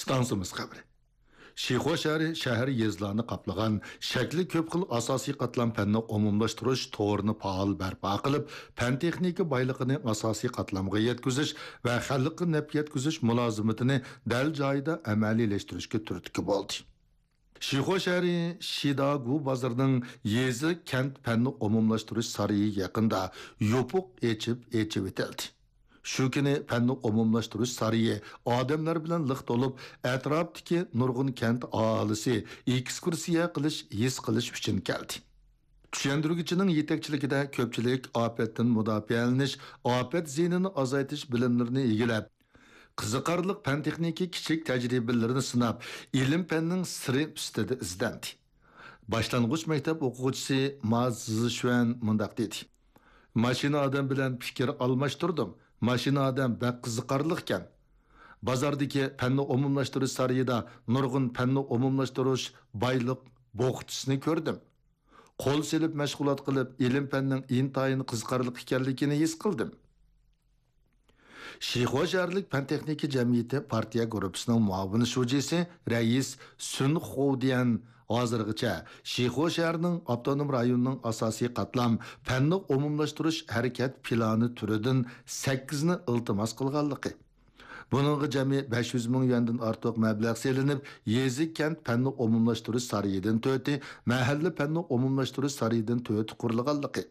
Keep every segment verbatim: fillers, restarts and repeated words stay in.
ئىستانسىمىز خەۋىرى. شىخۇا شەھىرى شەھەر يېزىلارنى قاپلىغان شەكلى كۆپ خىل ئاساسىي قاتلام پەننى ئومۇملاشتۇرۇش تورىنى پائال بەرپا قىلىپ، پەن-تېخنىكا بايلىقىنى ئاساسىي قاتلامغا يەتكۈزۈش ۋە خەلققە نەپ يەتكۈزۈش مۇلازىمىتىنى دەل جايىدا ئەمەلىيلەشتۈرۈشكە تۈرتكە بولدى. شىخۇا شەھىرى شىداگۇ بازىرىنىڭ يېزا-كەنت پەننى ئومۇملاشتۇرۇش سارىيى يېقىندا يوپۇق ئېچىپ ئېچىۋېتىلدى. شۇ كۈنى پەننى ئومۇملاشتۇرۇش سارىيى ئادەملەر بىلەن لىق تولۇپ، ئەتراپتىكى نۇرغۇن كەنت ئاھالىسى ئېكسكۇرسىيە قىلىش، ھېس قىلىش ئۈچۈن كەلدى. چۈشەندۈرگۈچىنىڭ يېتەكچىلىكىدە كۆپچىلىك ئاپەتتىن مۇداپىئەلىنىش، ئاپەت زىيىنىنى ئازايتىش بىلىملىرىنى ئىگىلەپ، قىزىقارلىق پەن-تېخنىكا كىچىك تەجرىبىلىرىنى سىناپ، ئىلىم-پەننىڭ سىرى ئۈستىدە ئىزدەندى. باشلانغۇچ مەكتەپ ئوقۇغۇچىسى ما زىشۈەن مۇنداق دېدى: ماشىنا ئادەم بىلەن پىكىر ئالماشتۇردۇم. ماشىنا ئادەم بەك قىزىقارلىقكەن. بازاردىكى پەننى ئومۇملاشتۇرۇش سارىيىدا نۇرغۇن پەننى ئومۇملاشتۇرۇش بايلىق بوخچىسىنى كۆردۈم. قول سېلىپ مەشغۇلات قىلىپ، ئىلىم-پەننىڭ ئىنتايىن قىزىقارلىق ئىكەنلىكىنى ھېس قىلدىم. شىخۇا شەھەرلىك پەن-تېخنىكا جەمئىيىتى پارتىيە گۇرۇپپىسىنىڭ مۇئاۋىن شۇجىسى، رەئىس سۈن خۇديەن ھازىرغىچە شىخۇا شەھىرىنىڭ ئاپتونوم رايوننىڭ ئاساسىي قاتلام پەننى ئومۇملاشتۇرۇش ھەرىكەت پىلانى تۈرىدىن سەككىزنى ئىلتىماس قىلغانلىقى، بۇنىڭغا جەمئىي بەش يۈز مىڭ يۈەندىن ئارتۇق مەبلەغ سېلىنىپ، يېزا-كەنت پەننى ئومۇملاشتۇرۇش سارىيىدىن تۆتى، مەھەللە پەننى ئومۇملاشتۇرۇش سارىيىدىن تۆتى قۇرۇلغانلىقى،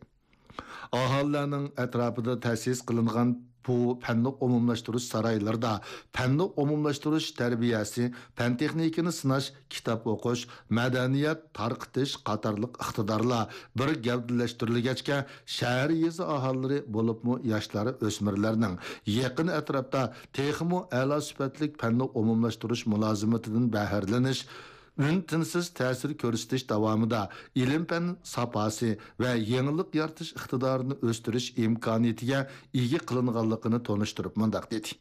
ئاھالىلەرنىڭ ئەتراپىدا تەسىس قىلىنغان بۇ پەننى ئومۇملاشتۇرۇش سارايلىرىدا پەننى ئومۇملاشتۇرۇش تەربىيەسى، پەن-تېخنىكىنى سىناش، كىتاب ئوقۇش، مەدەنىيەت تارقىتىش قاتارلىق ئىقتىدارلار بىر گەۋدىلەشتۈرۈلگەچكە، شەھەر، يېزا ئاھالىلىرى، بولۇپمۇ ياشلار، ئۆسمۈرلەرنىڭ يېقىن ئەتراپتا تېخىمۇ ئەلا سۈپەتلىك پەننى ئومۇملاشتۇرۇش مۇلازىمىتىدىن بەھرىلىنىش، ئۈن-تىنسىز تەسىر كۆرسىتىش داۋامىدا ئىلىم-پەن ساپاسى ۋە يېڭىلىق يارىتىش ئىقتىدارىنى ئۆستۈرۈش ئىمكانىيىتىگە ئىگە قىلىنغانلىقىنى تونۇشتۇرۇپ مۇنداق دېدى: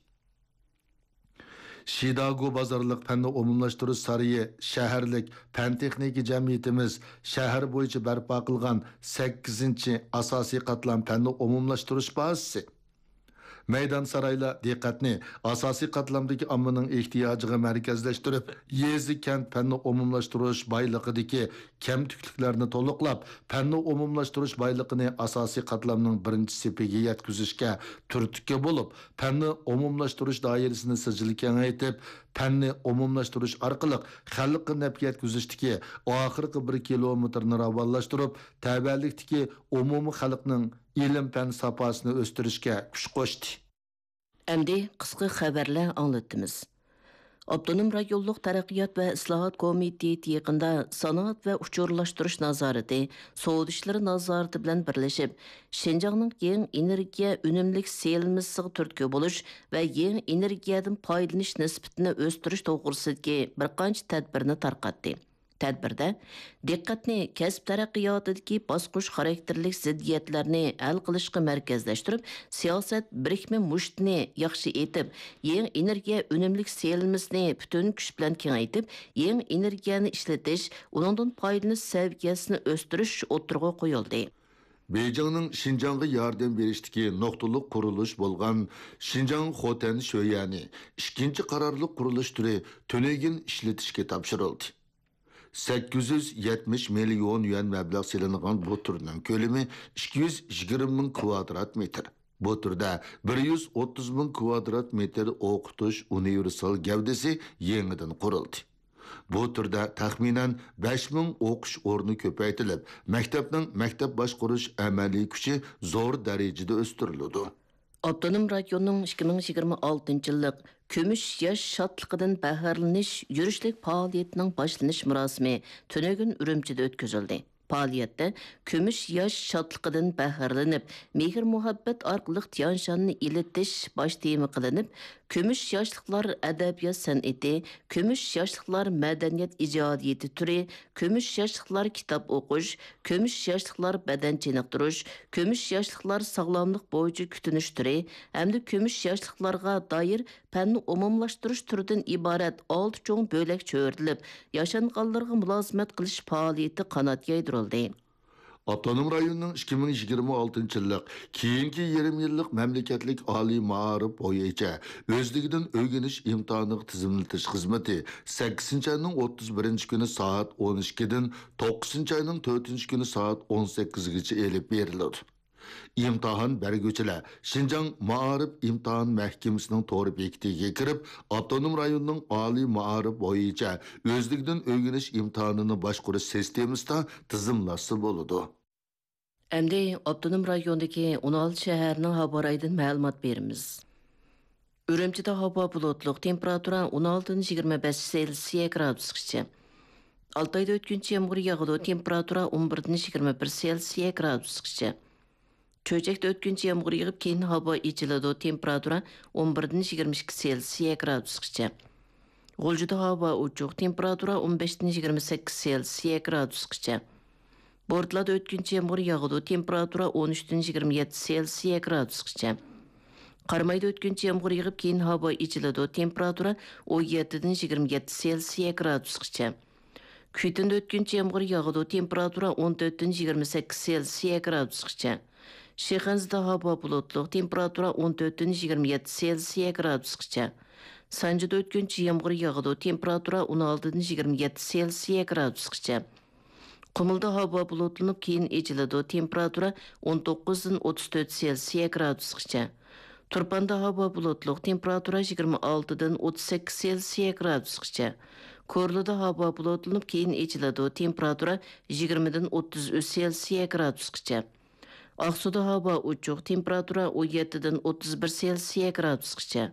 شىداگۇ بازارلىق پەننى ئومۇملاشتۇرۇش سارىيى شەھەرلىك پەن-تېخنىكا جەمئىيىتىمىز شەھەر بويىچە بەرپا قىلغان سەككىزىنچى ئاساسىي قاتلام پەننى ئومۇملاشتۇرۇش بازىسى. مەيدان سارايلار دىققەتنى ئاساسىي قاتلامدىكى ئاممىنىڭ ئېھتىياجىغا مەركەزلەشتۈرۈپ، يېزا-كەنت پەننى ئومۇملاشتۇرۇش بايلىقىدىكى كەمتۈكلۈكلەرنى تولۇقلاپ، پەننى ئومۇملاشتۇرۇش بايلىقىنى ئاساسىي قاتلامنىڭ بىرىنچى سېپىگە يەتكۈزۈشكە تۈرتكە بولۇپ، پەننى ئومۇملاشتۇرۇش دائىرىسىنى سىجىل كېڭەيتىپ، پەننى ئومۇملاشتۇرۇش ئارقىلىق خەلققە نەپ يەتكۈزۈشتىكى ئاخىرقى بىر كىلومېتىرنى راۋانلاشتۇرۇپ، تەۋەلىكتىكى ئومۇمىي خەلقنىڭ ئىلىم-پەن ساپاسىنى ئۆستۈرۈشكە كۈچ قوشتى. ئەمدى قىسقا خەۋەرلەر ئاڭلىتىمىز. ئاپتونوم رايونلۇق تەرەققىيات ۋە ئىسلاھات كومىتېتى يېقىندا سانائەت ۋە ئۇچۇرلاشتۇرۇش نازارىتى، سودا ئىشلىرى نازارىتى بىلەن بىرلىشىپ، شىنجاڭنىڭ يېڭى ئېنېرگىيە ئۈنۈملۈك سېلىنمىسىغا تۈرتكە بولۇش ۋە يېڭى ئېنېرگىيەدىن پايدىلىنىش نىسبىتىنى ئۆستۈرۈش توغرىسىدىكى بىر قانچە تەدبىرنى تارقاتتى. تەدبىردە دىققەتنى كەسىپ تەرەققىياتىدىكى باسقۇچ خاراكتېرلىك زىددىيەتلەرنى ھەل قىلىشقا مەركەزلەشتۈرۈپ، سىياسەت بىرىكمە مۇشتىنى ياخشى ئېتىپ، يېڭى ئېنېرگىيە ئۈنۈملۈك سېلىنمىسىنى پۈتۈن كۈچ بىلەن كېڭەيتىپ، يېڭى ئېنېرگىيەنى ئىشلىتىش، ئۇنىڭدىن پايدىلىنىش سەۋىيەسىنى ئۆستۈرۈش ئوتتۇرىغا قويۇلدى. بېيجىڭنىڭ شىنجاڭغا ياردەم بېرىشتىكى نۇقتىلىق قۇرۇلۇش بولغان شىنجاڭ خوتەن شۆيەنى ئىككىنچى قارارلىق قۇرۇلۇش تۈرى تۈنۈگۈن ئىشلىتىشكە تاپشۇرۇلدى. سەككىز يۈز يەتمىش مىليون يۈەن مەبلەغ سېلىنغان بۇ تۈرنىڭ كۆلىمى ئىككى يۈز يىگىرمە مىڭ كۋادرات مېتىر. بۇ تۈردە بىر يۈز ئوتتۇز مىڭ كۋادرات مېتىر ئوقۇتۇش ئۇنىۋېرسال گەۋدىسى يېڭىدىن قۇرۇلدى. بۇ تۈردە تەخمىنەن بەش مىڭ ئوقۇش ئورنى كۆپەيتىلىپ، مەكتەپنىڭ مەكتەپ باشقۇرۇش ئەمەلىي كۈچى زور دەرىجىدە ئۆستۈرۈلىدۇ. ئاپتونوم رايوننىڭ ئىككى مىڭ يىگىرمە ئالتىنچى يىللىق كۈمۈش ياش شادلىقىدىن بەھرىلىنىش يۈرۈشلۈك پائالىيىتىنىڭ باشلىنىش مۇراسىمى تۈنۈگۈن ئۈرۈمچىدە ئۆتكۈزۈلدى. پائالىيەتتە كۈمۈش ياش شادلىقىدىن بەھرىلىنىپ، مېھىر-مۇھەببەت ئارقىلىق تيانشاننى ئېلىتىش باش تېما قىلىنىپ، كۈمۈش ياشلىقلار ئەدەبىيات سەنئىتى، كۈمۈش ياشلىقلار مەدەنىيەت ئىجادىيىتى تۈرى، كۈمۈش ياشلىقلار كىتاب ئوقۇش، كۈمۈش ياشلىقلار بەدەن چېنىقتۇرۇش، كۈمۈش ياشلىقلار ساغلاملىق بويىچە كۈتۈنۈش تۈرى ھەمدە كۈمۈش ياشلىقلارغا دائىر پەننى ئومۇملاشتۇرۇش تۈرىدىن ئىبارەت ئالتە چوڭ بۆلەك چۆرىدىلىپ، ياشانغانلارغا مۇلازىمەت قىلىش پائالىيىتى قانات يايدۇرۇلدى. ئاپتونوم رايوننىڭ ئىككى مىڭ يىگىرمە ئالتىنچى يىللىق كېيىنكى يېرىم يىللىق مەملىكەتلىك ئالىي مائارىپ بويىچە ئۆزلۈكىدىن ئۆگىنىش ئىمتىھانىغا تىزىملىتىش خىزمىتى سەككىزىنچى ئاينىڭ ئوتتۇز بىرىنچى كۈنى سائەت ئون ئىككىدىن توققۇزىنچى ئاينىڭ تۆتىنچى كۈنى سائەت ئون سەككىزگىچە ئېلىپ بېرىلىدۇ. ئىمتىھان بەرگۈچىلەر شىنجاڭ مائارىپ ئىمتىھان مەھكىمىسىنىڭ تور بېكىتىگە كىرىپ، ئاپتونوم رايوننىڭ ئالىي مائارىپ بويىچە ئۆزلۈكىدىن ئۆگىنىش ئىمتىھانىنى باشقۇرۇش سىستېمىسىدا تىزىملاشسا بولىدۇ. ئەمدى ئاپتونوم رايوندىكى ئون ئالتە شەھەرنىڭ ھاۋا رايىدىن مەلۇمات بېرىمىز. ئۈرۈمچىدە ھاۋا بۇلۇتلۇق، تېمپېراتۇرا ئون ئالتىدىن يىگىرمە بەش سېلسىيە گرادۇسقىچە. ئالتايدا ئۆتكۈنچى يامغۇر ياغىدۇ، تېمپېراتۇرا ئون بىردىن يىگىرمە بىر سېلسىيە گرادۇسقىچە. چۆچەكتە ئۆتكۈنچى يامغۇر يېغىپ، كېيىن ھاۋا ئېچىلىدۇ، تېمپېراتۇرا ئون بىردىن يىگىرمە ئىككى سېلسىيە گرادۇسقىچە. غۇلجىدا ھاۋا ئوچۇق، تېمپېراتۇرا ئون بەشتىن يىگىرمە سەككىز سېلسىيە گرادۇسقىچە. بورتالادا ئۆتكۈنچى يامغۇر ياغىدۇ، تېمپېراتۇرا ئون ئۈچتىن يىگىرمە يەتتە سېلسىيە گرادۇسقىچە. قارامايدا ئۆتكۈنچى يامغۇر يېغىپ، كېيىن ھاۋا ئېچىلىدۇ، تېمپېراتۇرا ئون يەتتىدىن يىگىرمە يەتتە سېلسىيە گرادۇسقىچە. كۈيتۈندە ئۆتكۈنچى يامغۇر ياغىدۇ، تېمپېراتۇرا ئون تۆتتىن يىگىرمە سەككىز سېلسىيە گرادۇسقىچە. شىخەنزىدە ھاۋا بۇلۇتلۇق، تېمپېراتۇرا ئون تۆتتىن يىگىرمە يەتتە سېلسىيە گرادۇسقىچە. سانجىدا ئۆتكۈنچى يامغۇر ياغىدۇ، تېمپېراتۇرا ئون ئالتىدىن يىگىرمە يەتتە سېلسىيە گرادۇسقىچە. قۇمۇلدا ھاۋا بۇلۇتلىنىپ، كېيىن ئېچىلىدۇ، تېمپېراتۇرا ئون توققۇزدىن ئوتتۇز تۆت سېلسىيە گرادۇسقىچە. تۇرپاندا ھاۋا بۇلۇتلۇق، تېمپېراتۇرا يىگىرمە ئالتىدىن ئوتتۇز سەككىز سېلسىيە گرادۇسقىچە. كورلىدا ھاۋا بۇلۇتلىنىپ، كېيىن ئېچىلىدۇ، تېمپېراتۇرا يىگىرمىدىن ئوتتۇز ئۈچ سېلسىيە گرادۇسقىچە. ئاقسۇدا ھاۋا ئوچۇق، تېمپېراتۇرا ئون يەتتىدىن ئوتتۇز بىر سېلسىيە گرادۇسقىچە.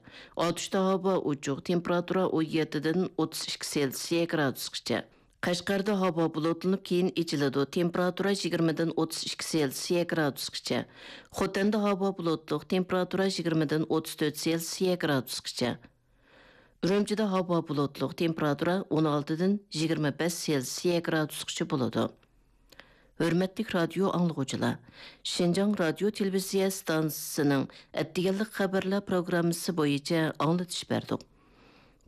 ئاتۇشتا ھاۋا ئوچۇق، تېمپېراتۇرا ئون يەتتىدىن ئوتتۇز ئىككى سېلسىيە گرادۇسقىچە. قەشقەردە ھاۋا بۇلۇتلىنىپ، كېيىن ئېچىلىدۇ، تېمپېراتۇرا يىگىرمىدىن ئوتتۇز ئىككى سېلسىيە گرادۇسقىچە. خوتەندە ھاۋا بۇلۇتلۇق، تېمپېراتۇرا يىگىرمىدىن ئوتتۇز تۆت سېلسىيە گرادۇسقىچە. ئۈرۈمچىدە ھاۋا بۇلۇتلۇق، تېمپېراتۇرا ئون ئالتىدىن يىگىرمە بەش سېلسىيە گرادۇسقىچە بولىدۇ. ھۆرمەتلىك رادىيو ئاڭلىغۇچىلار، شىنجاڭ رادىيو تېلېۋىزىيە ئىستانسىسىنىڭ ئەتىگەنلىك خەۋەرلەر پروگراممىسى بويىچە ئاڭلىتىش بەردۇق.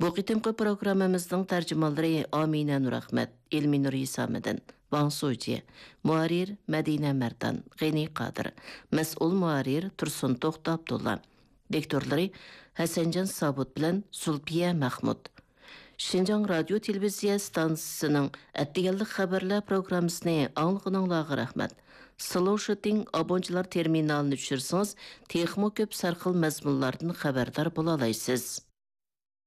بۇ قېتىمقى پروگراممىمىزنىڭ تەرجىمانلىرى ئامىنە نۇرئەخمەت، ئېلمىنۇر ھېسامىدىن، ۋاڭ سۇجى، مۇھەررىر مەدىنە مەردان، غېنى قادىر، مەسئۇل مۇھەررىر تۇرسۇن توختى ئابدۇللا. دىكتورلىرى ھەسەنجان سابىت بىلەن زۇلپىيە مەخمۇت. شىنجاڭ رادىيو تېلېۋىزىيە ئىستانسىسىنىڭ ئەتىگەنلىك خەۋەرلەر پروگراممىسىنى ئاڭلىغىنىڭلارغا رەھمەت. سلوشىتىڭ ئابونچىلار تېرمىنالىنى چۈشۈرسىڭىز، تېخىمۇ كۆپ سەرخىل مەزمۇنلاردىن خەۋەردار بولالايسىز.